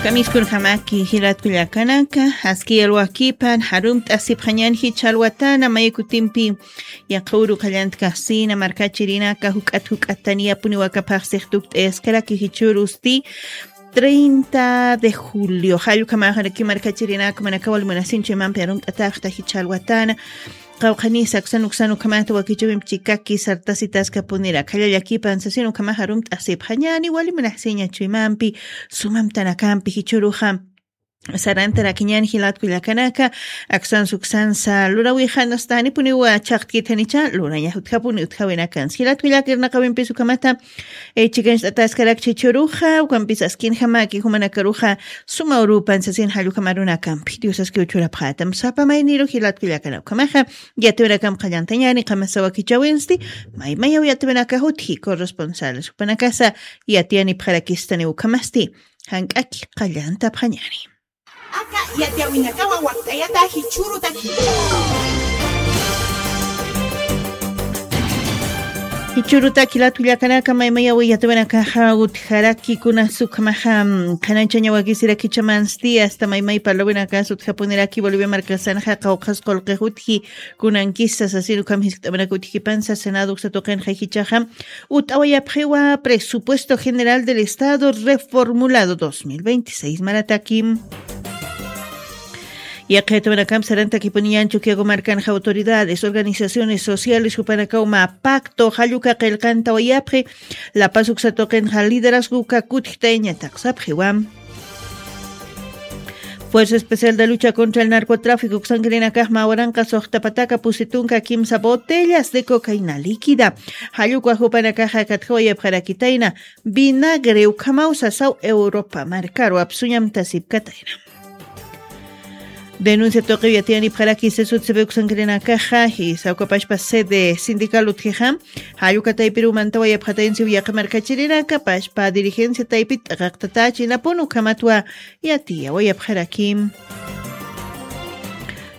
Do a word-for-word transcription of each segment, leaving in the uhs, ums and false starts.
Kamiskurjamaki jilatkullakanaka, aski yalwakipan jarumt'asipxañan jichha alwatana, maykutimpi yaqha uru qallantkaxsina markachirinaka juk'at juk'at taniyapuni wakapaxsix tukt'ayaskaraki jichhürusti treinta de julio. Jallukamaxaraki markachirinaka manakaw almunasinchu imampi jarumt'ataxta jichha alwatana. Qawqhanisa aksan uksan ukhamata wakichawimpi chikaki sartasitaskapunira khalla llakipan sasin ukhamaxa jarumt'asipxañani wali munaxsiñachu imampi sumamtanakampi jichhuruxa. Sarantarakiñan jilatkullakanaka aksansa uksansa lurawixanasta janipuniwa chhaqtkitanicha lurañax utjapuni utjawinakansa jilatkullaka irnaqawimpis ukhamata. Chikancht'ataskarak chichuruxa ukampis askinjamaki jumanakaruxa suma urupan sasin jallukamarunakampi diosaski uchurapxatam sapa mayniru jilatkullakana ukhamaxa. Yatiwinakam qallantañani qamasa wakichawinsti maymayaw yatiwinakax utji corresponsales jupanakasa yatiyanipxarakistani ukhamasti jank'aki qallantapxañani. Aka yatiyawinakawa wakt'ayata jichhürutaki. Jichhürutaki latkullakanaka maymayawi yatawinakaxa utjaraki kunas ukhamaxa qhanañchañawakisirakichamansti asta maymay parlawinakas utjapuniraki bolivia markasanxa qawqhas qullqix utji kunankisa sasin ukham jiskt'amanaka utjipansa senado uksa tuqinxa jichhaxa ut'awayapxiwa presupuesto general del estado reformulado dos mil veintiséis marataki. Yaqhaytawanakamp sarantakipuniñan chukiago markanxa autoridades organizaciones sociales jupanakaw mä pacto jalluka qillqantawayapxi. Lapaz uksa tuqinxa liderazgo uka kutjtayñataq sapxiwa. Fuerza especial de lucha contra el narcotráfico uksankirinakax mä waranqa suxtapataka pusi tunka kimsa botellas de cocaína líquida. Jallukwa jupanakaxa katjawayapxarakitayna vinagre ukhamaw sasaw europa markaru apsuñamtasipkatayna. Denuncia tuqiw yatiyanipxaraki sesut sipi uksankirinakaxa jisa ukapashpa sede sindical utjixa. Jalluka taypiruw mantawayapxataynsiw yaqha markachirinaka pashpa dirigencia taypit t'aqaqtatachinapun ukhamatwa yatiyawayapxarakim.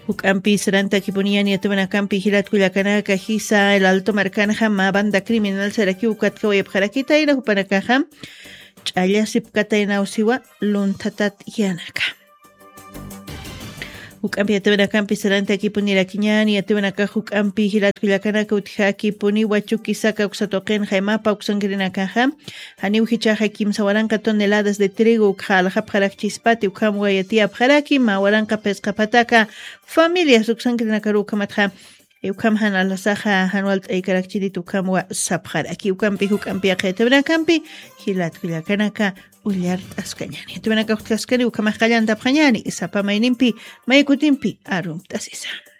Juk'ampi sarantakipuniñan yatiwanakampi jilatkullakanaka jisa el alto markanxa mä banda criminal sarakiw ukatjawayapxarakitayna jupanakaxa ch'allasipkataynawsiwa lunthatat yanaka. Juk'ampi yatiwanakampi sarantakipunirakiñani yatiwanakax juk'ampi jilatkullakanaka utjakipuniwa chukisaka uksa tuqinxa imapa uksankirinakaxa janiw jichhaxa kimsa waranqa toneladas de trigo ukxa aljapxarakchispati ukhamwa yatiyapxaraki mä waranqa phisqa phataka familias uksankirinakaru ukhamatxa. Ukham jan alasaxa jan walt'aykarakchinit ukhamwa sapxaraki ukampi juk'ampi yaqha yatiwanakampi jilatkullakanaka ullart'askañani yatiwanaka utjaskani ukhamax qallantapxañani sapa maynimpi maykutimpi arumt'asisa.